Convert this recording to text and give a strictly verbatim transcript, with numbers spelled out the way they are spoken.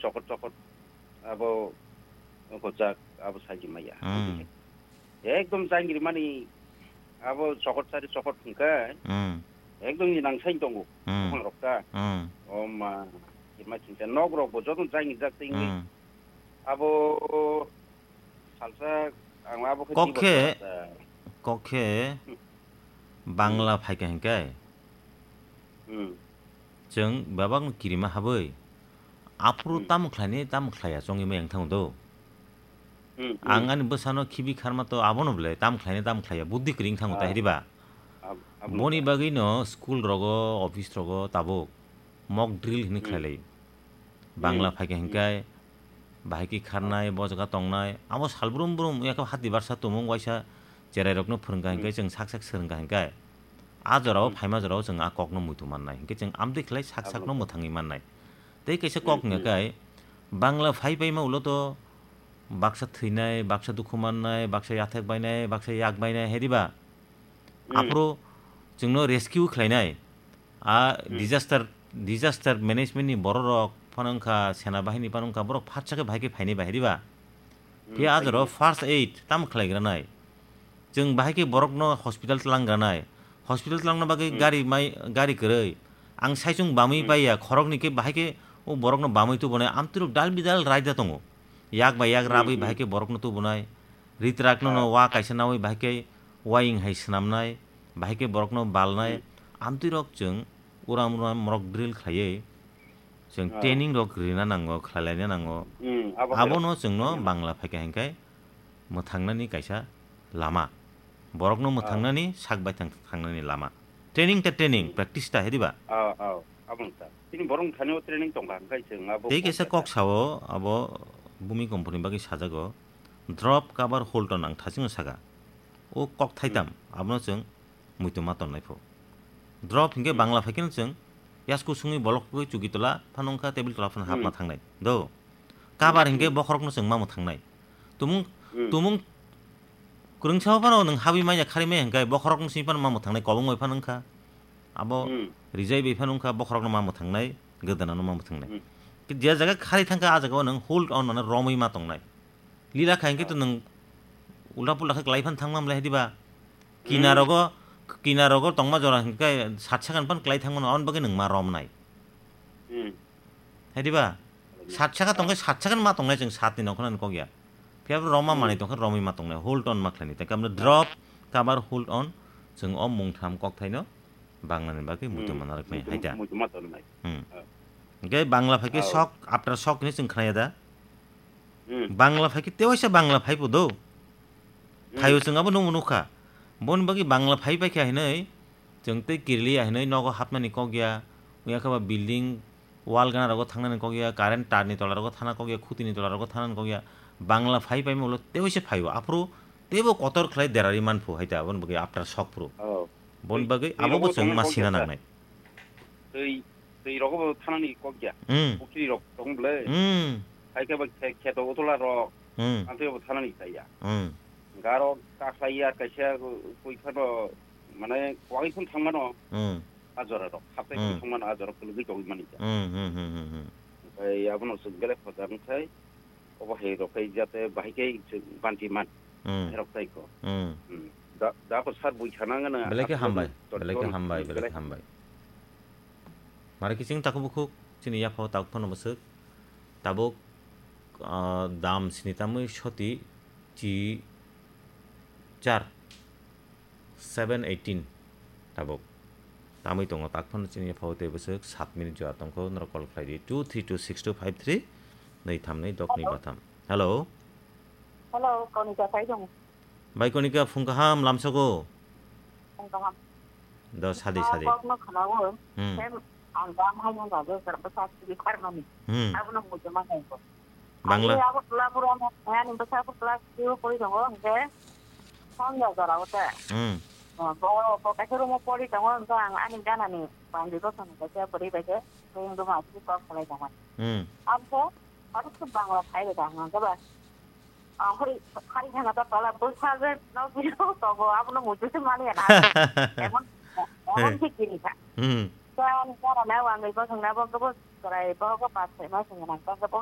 chokot chokot abo hojak abo saji maya. Hmm. Ekdom jangiri mani abo chokot sari chokot hwnkhe Hmm. ekdom ni nang sai tongo Hmm. buphang rok ta. Hmm. O ma, kirima chingsa nok rok bo joto jangiri jak tengwi Hmm. abo salsa ang abo khe Kok di khe, bosor ta. Kok khe Hmm. Bangla Hmm. phaikha hinkhe Hmm. Chwng bebakno kirima habwi, aphuru Hmm. tamo khlainai, tamo khlaiya chongwi maya wng thango do. Hmm, hmm. Ang ani bwsano khibi kharma to abono bwle tamo khlainai, tamo khlaiya, buddhi kwrwi wng thango ta Ah. hiriba. Ab-, aboni Boni ta. bagwino school rogo, office rogo tabuk mock drill hinwi Hmm. khlailai. Bangla Hmm. phaikha Hmm. hinkhe, bahai khe kharnai, bo jaga tongnai, abo sal brum brum, yakhe hati barsa tumung waisa cherai rokno phwrwngkha hinkhe, Hmm. chwng sak sak swrwngkha hinkhe, a jorao Hmm. phaima jorao chwng a kokno muitu mannai. Hinkhe chwng amtwi khlai sak Abo sakno nokha. mwthangwi mannai. Tei kaisa Hmm, kok hmm. hwnkhe, Bangla phai paima ulo to baksa thwinai, baksa dukhu mannai, baksa yathek bainai, baksa yak bainai, hai diba? Hmm. Aphuru chwngno rescue khlainai. A Hmm. disaster, disaster management ni borok rok phano wngkha, sena bahini phano wngkha, borok phatsa khe bahai khe phainai bahai diba? Hmm, Phiya a jorao phainai. First aid tamo khlai granai? Chwng bahai khe borokno hospital tlang granai. Hospital tlangna bagwi Hmm. gari mai, gari kwrwi. Ang saichung bamwi Hmm. paiya, khoroknwi khe bahai khe o borokno bamwi tubunai, amtwirok dal bidal raida tongo. Yak bai yak Hmm, rabwi hmm. bahai khe borokno tubunai. Ritrakno no Ah. wa kaisa nawi bahai khe waying hai swnamnai, bahai khe borokno balnai, Hmm. amtwi rok chwng uram uram mock drill khlaiwi chwng Ah. training rok rina nango, khlai laina nango. Hmm, abo hai Abono rok chwngno khlai laina. Bangla phaikha hinkhe mwthangnani kaisa lama. Borokno Ah. mwthangnani sak bai thang-, thangnani lama. Training ta training, Hmm. practice ta, hai diba? Ah, ah, abo wngkha. Chini borok thani o training tongkha, hwnkhe chwng abo Tei kok kaisa kok kok ta. Sao, abo bumi komponi bagwi sajago. Drop, cover, hold on ang thachingno saka. O kok thaitam, Hmm. abono chwng muitu ma tonnai pho. Drop hinkhe Hmm. Bangla phaikhe no chwng yasku sungwi bolok khe chuki tola phano wngkha table tola phano hapma Hmm. thangnai. Do. Cover Hmm. hinkhe bokhorokno chwng mamo thangnai. Tumung, Hmm. tumung kwrwngsa phano nwng habwi manya khari maya hinkhe bokhorokno simi phano mamo thangnai kobong bai phano wngkha. Abo Hmm. rijai bai phano wngkha bokhorokno mamo thangnai, gwdana no mamo thangnai. Hmm. Ki je jaga khari thangkha a jaga o nwng hold on mane romwi ma tongnai. Lila kha hinkhe to nwng ulta pulta khe klai phan thangma mlai hai diba? Hmm. Kinarogo, kinarogo tongma jora hinkhe sat sakan phan klai thangmano, aboni bagwi nwng ma romnai. Hmm. Hai diba? Hmm. Sat saka tongkhe sat sakan ma tongnai chwng satni nongkhornani kok ya. Phiya bo romma Hmm. manwi tongkhe romwi ma tongnai, hold on ma khlainai. Tei kamno drop, cover, hold on, chwng o mungtham kokthaino Banglani bagwi muitu Hmm. mana rwknai Muitu, hai da? Muitu ma tongnai. Hmm. Ah. Hinkhe Bangla phaikhe Ah. Shock, after shock hinwi chwng khnaya da? Hmm. Bangla phaikhe tewaisa Bangla phaibo do. Hmm. Phaio chwng abo nungbo nukha. Boni bagwi Bangla phai paikha hinwi chwng tei kiriliya hinwi nogo hapnani kok ya. Wngya khe ba building wall gana rogo thangnani kok ya, current tar ni tola rogo thana kok ya, khuti ni tola rogo thanani kok ya. Bangla phai paima ulo tewaisa phaio. Aphuru teibo kotor khlai derari manphu hai da, aboni bagwi after shock phuru. Oh. Boni Twi, bagwi twi abo bo rogo chwng thangnani ma kok sina ya, sir. Nangnai. Twi, twi rogo bo thanani kok ya. Hmm. Pukhri rok tong ble. Hmm. Hai khe bo khe-, kheto utola rok. Hmm. Antwi bo thanani khlai ya. Hmm. Garo kakhlai ya kaisa koi phano mane kwagwi phano thangmano. Hmm. A jora rok. Haptai Hmm. phano thangmano a jora rok kwlwgwi tongwi mani ya. Hmm, hmm, hmm, hmm, hmm. Omohai abono chwng belai khoja wngkhai. Obo hai rok khai jate bahai khe chwng banti man. Hmm. Hai rok tai ko. Hmm. Hmm. Da, da ko sar bui sana ngana Belai khe aphuru hambai, to belai khe ton hambai, belai belai khe hambai. Mare kiching takhuk bukhuk chini yaphao takhuk phano bwswk. Tabuk, ah, dam sini tamwi soti chi char. Seven eighteen tabuk. Tamwi tongo tak phano chini yaphao tei bwswk sat minute jora tongkho norok call khlai di two three two six two five three nwi tham nwi dok nwi Hello? Ba tham. Hello. Hello, Konika sai dong. Bai Konika phung kaham lamsogo. Phung kaham. Do sadi sadi. Kok no khnawo. Hmm. Sem ang dam hai no jago sar bwsa sidi kharmani. Hmm. Abono mujuma hai ko. Bangla. Ani Agartala pura mo, ani bwsa Agartala school pori tongo, hwnkhe Songya jora o te. Hmm. Bo, bo kaisa room o pori tongo, hwnkhe ang ani gana ni bangwi bosong kaisa bwrwi bai khe, tei wng duma aswk kok salai tongmani. Hmm. Abse, abo se Bangla phai bai tong hwnkhe ba. Ang khori, khari thangna ta tola bwsa je no biyo tongo, abono muitu se mani ya na. Emon, emon se kiri kha. Hmm. Khe ani gana na bangwi bosong na bo khe bo chwrai bo khe pas soi ma song nang khe bo